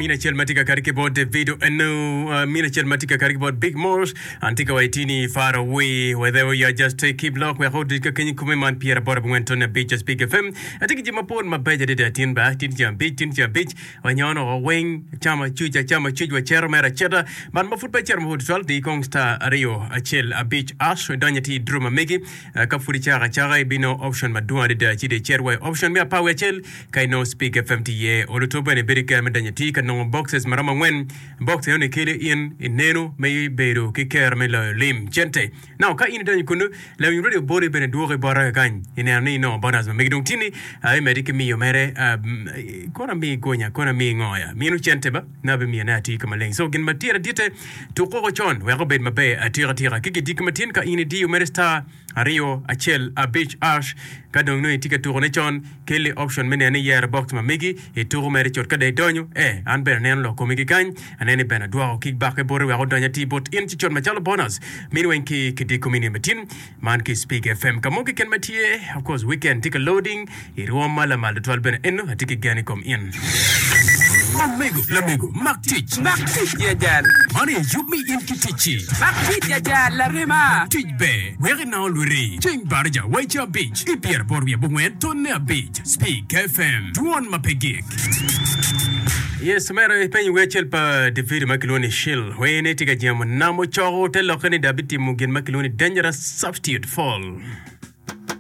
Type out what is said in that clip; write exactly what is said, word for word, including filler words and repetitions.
Mine acel ma tye ka kati ki bot Davido eno, uh, mine acel ma tye ka kati ki bot Big Morse. An tye ka wa itini far away, wherever you are, just take keep lock wek odic ka kenyi kume man pyera aboro abongwen tone abic Speak F M. Atye ki jami mapol mabeco adada tin ba, tin ceng abic, tin ceng abic, wanyono woko weng, acamo acuc, acamo acuc, wacito mere acita. Man ma pud pe acito mapol tutwal, di kong star aryo acel abic ash, idonyo atir i draw ma megi. Uh, ka pud icako acaka, ibinongo option madwong adada, ci dong icit wa i option me apar wiye acel ka inongo Speak F M tye iye. Oluto bene ibedo ki kare me donyo atir ka nongo boxes maromo angwen. Box enoni kelo in ineno me bedo ki kero me loyo lim cente. Now ka in idonyo kunu, lawiny radio boli bene dwoki bota kakany. Ineno ni inongo bonus ma megi dong tini, uh, imedi ki miyo mere, uh, kono ami gonya, kono ami ngoya. Mino cente ba, na bimiyone atir ka maleng. So gin ma tye adite, tukoko con wek obed maber atika tika. Ki gidiki matin ka in idiyo mere star aryo acel abic ash, ka dong nongo itye ka tukone con, kelli option me neno ni iyero box ma megi, ituko mere cut ka dong idonyo, eh, an bene aneno lok komi ki kany, aneno ni bene adwoko kick back boti wek odony atir bot in ci cut macalo bonus. Mini weng ki kidiko mini matin, man ki Speak F M. Ka mo keken ma tye, of course, weekend tye ka loading, irwom ma lamal tutwal bene eno, atye ki gen i kom in. Omego, lamego, mak tic. Mak tic ya jal. Man aye yub mi in ki ticci. Mak tic ya jal, larema. Tic ber, wek inongo lwiri. Ceng baraja waica abic, i pyeraboro wiye abongwen tonne abic. Speak F M. Dwon ma pe gik. Yes, mere ipenyo wer acel pa Davido ma kilwongo ni Shill. Wer-ni tye ka jemo namo coko te lokke ni dong abitimo gin ma kilwongo ni dangerous substitute fall.